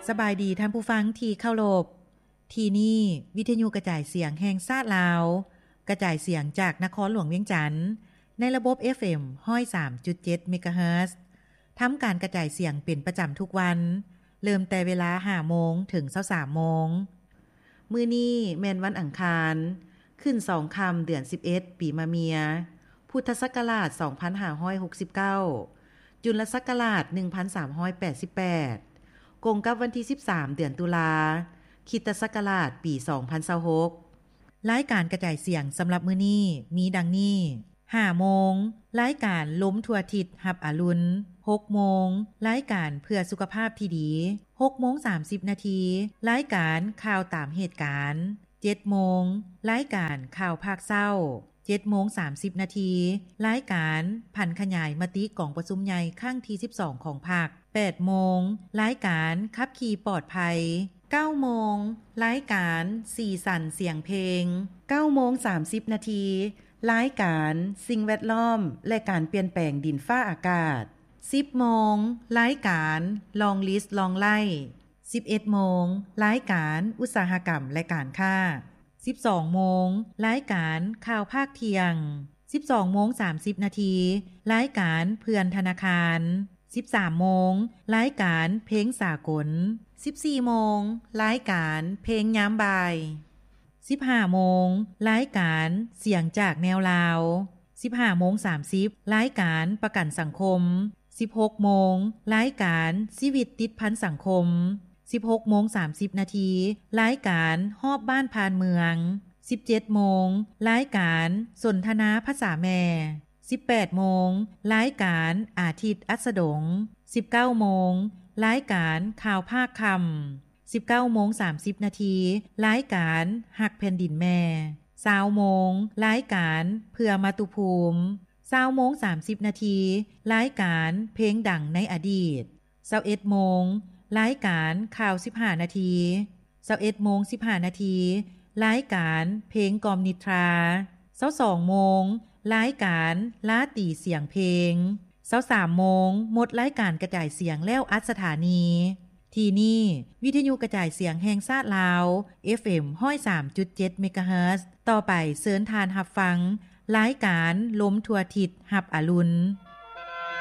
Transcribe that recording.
ສະບາຍດີທ່ານຜູ້ຟັງທີ່ເຄົາລົບ. ທີ່ນີ້ວິທະຍຸກະຈາຍສຽງແຫ່ງຊາດລາວ, ກະຈາຍສຽງຈາກນະຄອນຫຼວງວຽງຈັນ ໃນລະບົບ ເອັຟເອັມ ຮ້ອຍສາມຈຸດເຈັດ ເມກາເຮີດ. ທຳການກະຈາຍສຽງເປັນປະຈຳທຸກວັນ, ເລີ່ມແຕ່ເວລາ ຫ້າໂມງ ເຖິງ ຊາວສາມໂມງ. ມື້ນີ້ແມ່ນວັນອັງຄານ, ຂຶ້ນສອງຄ່ຳ ເດືອນສິບເອັດ ປີມະເມຍ, ພຸດທະສັກກະລາດ ສອງພັນຫ້າຮ້ອຍຫົກສິບເກົ້າ, ຈຸນລະສັກກະລາດ ໜຶ່ງພັນສາມຮ້ອຍແປດສິບແປດ, ກົງກັບວັນທີ ສິບສາມ ເດືອນຕຸລາ, ຄຣິສຕະສັກກະລາດ ປີ ສອງພັນຊາວຫົກ. ລາຍການກະຈາຍສຽງສຳລັບມື້ນີ້ມີດັ່ງນີ້: ຫ້າໂມງ ລາຍການລົມທົ່ວທິດຮັບອາລຸນ, ຫົກໂມງ ລາຍການເພື່ອສຸຂະພາບທີ່ດີ, ຫົກໂມງສາມສິບນາທີ ລາຍການຂ່າວຕາມເຫດການ, ເຈັດໂມງ ລາຍການຂ່າວພາກເຊົ້າ, ເຈັດໂມງສາມສິບນາທີ ລາຍການຜັນຂະຫຍາຍມະຕິກອງປະຊຸມໃຫຍ່ຄັ້ງທີ ສິບສອງ ຂອງພັກ, ແປດໂມງ ລາຍການຂັບຂີ່ປອດໄພ, ເກົ້າໂມງ ລາຍການສີສັນສຽງເພງ, ເກົ້າໂມງສາມສິບນາທີ ລາຍການສິ່ງແວດລ້ອມ ແລະ ການປ່ຽນແປງດິນຟ້າອາກາດ, ສິບໂມງ ລາຍການ Long List Long Life, ສິບເອັດໂມງ ລາຍການອຸດສາຫະກຳ ແລະ ການຄ້າ, ສິບສອງໂມງ ລາຍການຂ່າວພາກທ່ຽງ, ສິບສອງໂມງສາມສິບນາທີ ລາຍການເພື່ອນທະນາຄານ, ສິບສາມໂມງ ລາຍການເພງສາກົນ, ສິບສີ່ໂມງ ລາຍການເພງຍາມບ່າຍ, ສິບຫ້າໂມງ ລາຍການສຽງຈາກແນວລາວ, ສິບຫ້າໂມງສາມສິບ ລາຍການປະກັນສັງຄົມ, ສິບຫົກໂມງ ລາຍການຊີວິດຕິດພັນສັງຄົມ, ສິບຫົກໂມງສາມສິບນາທີ ລາຍການຮອບບ້ານຜ່ານເມືອງ, ສິບເຈັດໂມງ ລາຍການສົນທະນາພາສາແມ່, ສິບແປດໂມງ ລາຍການອາທິດອັດສະດົງ, ສິບເກົ້າໂມງ ລາຍການຂ່າວພາກຄ່ຳ, ສິບເກົ້າໂມງສາມສິບນາທີ ລາຍການຮັກແຜ່ນດິນແມ່, ຊາວໂມງ ລາຍການເພື່ອມາຕຸພູມ, ຊາວໂມງສາມສິບນາທີ ລາຍການເພງດັງໃນອະດີດ, ຊາວເອັດໂມງ ລາຍການຂ່າວສິບຫ້ານາທີ, ຊາວເອັດໂມງສິບຫ້ານາທີ ລາຍການເພງກ່ອມນິດທາ, ຊາວສອງໂມງ ລາຍການລາຕີສຽງເພງ, ຊາວສາມໂມງ ໝົດລາຍການກະຈາຍສຽງແລ້ວອັດສະຖານີ. ທີ່ນີ້ວິທະຍຸກະຈາຍສຽງແຫ່ງຊາດລາວ ເອັຟເອັມ ຮ້ອຍສາມຈຸດເຈັດ ເມກາເຮີດ. ຕໍ່ໄປເຊີນທ່ານຮັບຟັງລາຍການລົມທົ່ວທິດຮັບອາລຸນ.